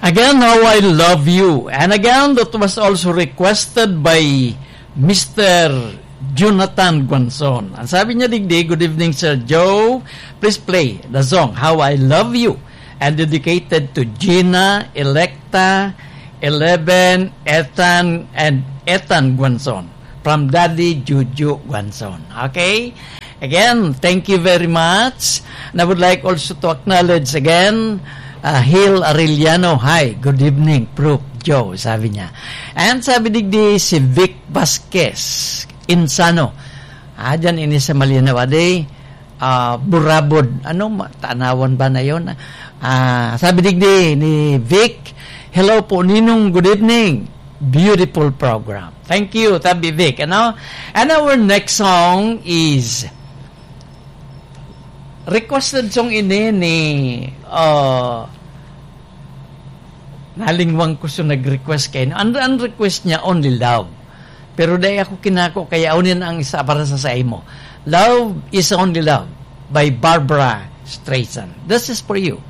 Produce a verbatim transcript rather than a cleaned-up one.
Again, How I Love You. And again, that was also requested by Mister Jonathan Guanzon. Ang sabi niya digdi, "Good evening, Sir Joe. Please play the song How I Love You and dedicated to Gina, Electa, Eleven, Ethan, and Ethan Guanzon from Daddy Juju Guanzon." Okay? Again, thank you very much. And I would like also to acknowledge again, uh, Hil Arellano. "Hi, good evening, Prof Joe," sabi niya. And sabi digdi si Vic Vasquez, Insano. Ah, dyan ini sa Malinaw, ade. Ah, Burabod. Ano, ma-, Tanawan ba na yon? Ah, sabi digdi ni Vic, "Hello po, Ninong. Good evening. Beautiful program." Thank you, Tabi Vic. Ano? And our next song is requested song ini ni, ah, nalingwan ko sa nag-request kay, ang, ang request niya, "Only Love." Pero dai ako kinako, kaya unin ang isa para sa saimo. "Love is Only Love" by Barbra Streisand. This is for you.